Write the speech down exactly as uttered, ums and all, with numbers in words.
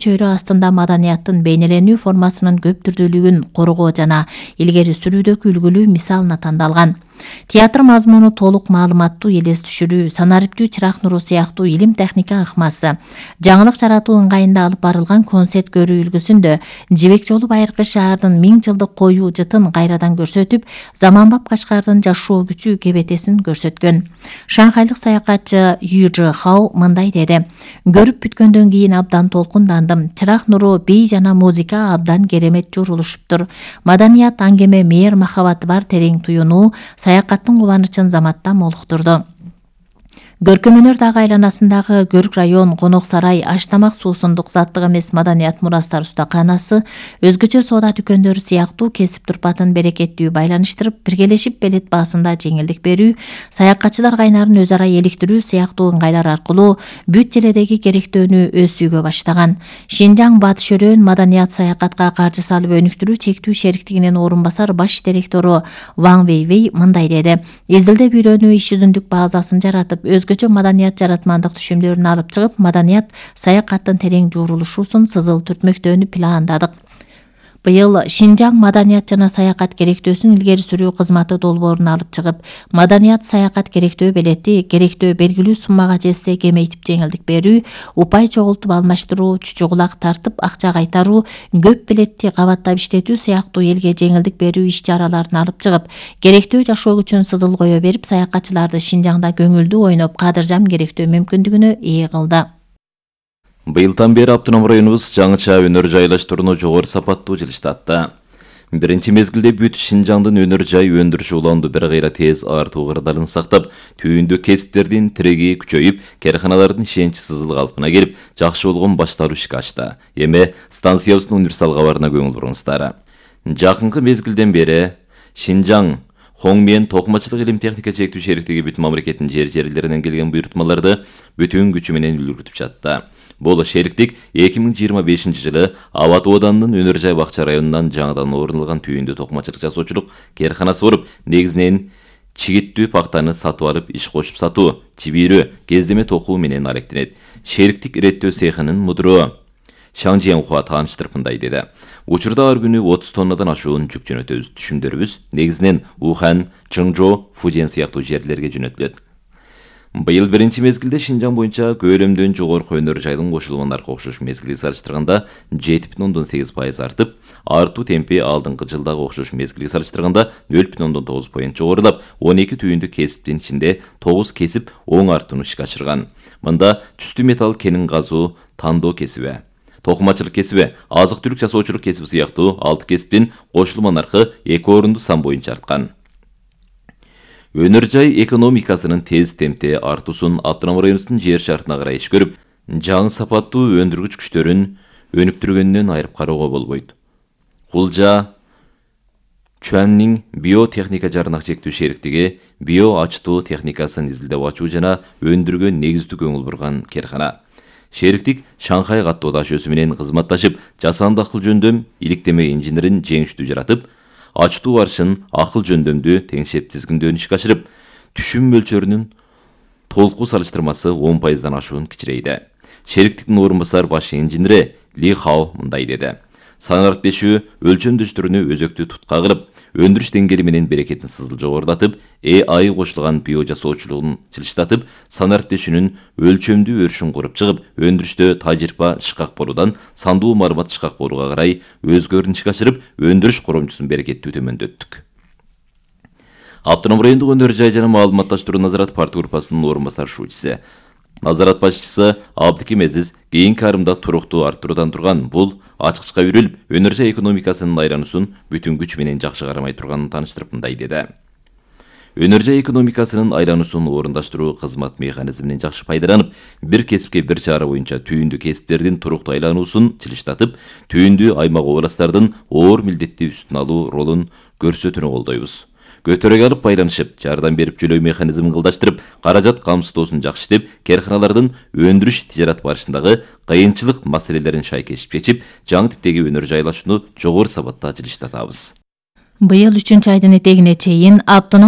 чөйрө астында маданияттын бейнеленүү формасынын көп түрдүүлүгүн коргоо жана илгери сүрүүдөгү үлгүлүү мисал натандалган. Театр мазмуну толук маалыматтуу элес түшүрүү, санариптүү чырак нуру сыяктуу илим техника ыкмасы, жаңылык жаратуу ыңгайында алып барылган концерт көрүү үлгүсүндө Жибек жолу Байыркы шаардын миң жылдык коюу жытын кайрадан көрсөтүп, заманбап Кашкардын жашоо күчү кебетесин көрсөткөн. Шанхайлык саякатчы Ю Жи Хао мындай деди: "Көрүп бүткөндөн кийин абдан толкундандым. Чырак нуру, бий жана музыка абдан керемет журулушуптур. Маданият, аңгеме, мээр махабаты бар терең туюнуу саякаттын кубанычын заматта молуктурду. Көркөмөнөр дагы айланасындагы Көрк район, Конок сарай, аш-тамак суусундук заттык эмес маданият мурастар устаканасы, өзгөчө соода дүкөндөрү сыяктуу кесип турпатын берекеттүү байланыштырып, биргелешип белет баасында жеңилдик берүү, саякатчылар кайнарын өз ара эликтирүү сыяктуу ыңгайлар аркылуу бүт желедеги керектөөнү өз баштаган. Шинжаң Батыш Өрөөн маданият саякатка каржы салып өнүктүрүү чектүү шериктигинин орун басар баш директору Ван Вейвей мындай деди: "Изилдеп үйрөнүү иш жүзүндүк базасын жаратып, өзгөчө маданият жаратмандык түшүмдөрүн алып чыгып, маданият саякаттын терең журулушусун сызыл түртмөктөөнү пландадык. Быйыл Шинжаң маданият жана саякат керектөөсүн илгери сүрүү кызматы долбоорун алып чыгып, маданият саякат керектөө белети, керектөө белгилүү суммага жетсе кемейтип жеңилдик берүү, упай чогултуп алмаштыруу, чүчү кулак тартып акча кайтаруу, көп белетти кабаттап иштетүү сыяктуу элге жеңилдик берүү иш-чараларын алып чыгып, керектөө жашоо күчүн сызыл кое берип, саякатчыларды Шинжаңда көңүлдүү ойноп, кадыржам керектөө мүмкүндүгүнө ээ кылды." Быйылдан бери автоном районубуз жаңыча өнөр жайлаштырууну жогору сапаттуу жылыштатты. Биринчи мезгилде бүт Шинжаңдын өнөр жай өндүрүшү уланду бир кайра тез артуу кырдаалын сактап, түйүндө кесиптердин тиреги күчөйүп, карханалардын ишеничи сызыл калпына келип, жакшы болгон башталуу ишке ачты. Эми станциябыздын универсал кабарына көңүл буруңуздар. Жакынкы мезгилден бери Шинжаң Хоң менен токумачылык илим техника чектүү шериктиги бүт мамлекеттин жер жерлеринен келген буйрутмаларды бүтүн күчү менен үлгүртүп жатты. Бул шериктик эки миң жыйырма бешинчи жылы Абат Оданынын Өнөр жай бакча районунан жаңыдан орнотулган түйүндө токумачылык жасоочулук карханасы болуп, негизинен чигиттүү пактаны сатып алып иш кошуп сатуу, чибирөө, кездеме токуу менен алектенет. Шериктик иреттөө цехынын мудуру Шаң Жиенхуа тааныштырып мындай деди: "Учурда ар күнү отуз тоннадан ашуун жүк жөнөтөбүз. Түшүмдөрүбүз негизинен Ухан, Чыңжоо, Фужен сыяктуу жерлерге жөнөтүлөт. Быйыл биринчи мезгилде Шинжаң боюнча көлөмдөн жогорку өнөр жайдын кошулган аркы окшош мезгилге салыштырганда жети бүтүн ондон сегиз пайыз артып, артуу темпи алдыңкы жылдагы окшош мезгилге салыштырганда нөл бүтүн ондон тогуз поинт жогорулап, он эки түйүндү кесиптин ичинде тогуз кесип оң артууну ишке ашырган. Мында түстүү металл кенин казуу, тандоо кесиби, токумачылык кесиби, азык-түлүк жасоочулук кесиби сыяктуу алты кесиптин кошулман аркы эки орунду сан боюнча арткан. Өнөр жай экономикасынын тез темпте артуусун автоном районубуздун жер шартына карай иш көрүп, жаңы сапаттуу өндүргүч күчтөрүн өнүктүргөндөн айырып кароого болбойт. Кулжа Чуаннин биотехника жарнак чектүү шериктиги био ачтуу техникасын изилдеп ачуу жана өндүргөн негиздүү көңүл бурган кархана. Шериктик Шанхай каттоо таш өсү менен кызматташып, жасанды акыл жөндөм иликтеме инженерин жеңиштүү жаратып, ачтуу аршын акыл жөндөмдүү теңшеп тизгиндөөн ишке ашырып, түшүм мөлчөрүнүн толку салыштырмасы он пайыздан ашуун кичирейди. Шериктиктин орун басар баш инженери Ли Хао мындай деди: "Санариптешүү өлчөмдөштөрүнү өзөктүү тутка кылып, өндүрүш деңгээли менен берекетин сызыл жогорулатып, э ай кошулган био жасоочулугун жылыштатып, санариптешүүнүн өлчөмдүү өрүшүн куруп чыгып, өндүрүштө тажрыйба шыкак болуудан сандуу маалымат шыкак болууга карай өзгөрүн ишке ашырып, өндүрүш коромчусун берекеттүү төмөндөттүк." Автоном райондук өнөр жай жана маалыматташтыруу назарат парт группасынын орун басар шуучусу, назарат башчысы Абдыким Эзиз кийинки арымда туруктуу арттыруудан турган бул ачкычка үйрүлүп, өнөр жай экономикасынын айлануусун бүтүн күч менен жакшы кармай турганын тааныштырып мындай деди: "Өнөр жай экономикасынын айлануусун орундаштыруу кызмат механизминен жакшы пайдаланып, бир кесипке бир чара боюнча түйүндүү кесиптердин туруктуу айлануусун жылыштатып, түйүндүү аймак областтардын оор милдетти үстүн алуу ролун көрсөтүүнү колдойбуз. Көтөрөг алып байланышып, жардам берип жөлөө механизмин кылдаштырып, каражат камсыздоосун жакшы иштеп, карханалардын өндүрүш тижарат барышындагы кыйынчылык маселелерин шайкешип чечип, жаңы типтеги өнөр жайлашууну жогору сапатта жылыштатабыз." Быйыл үчүнчү айдын этегине чейин автоном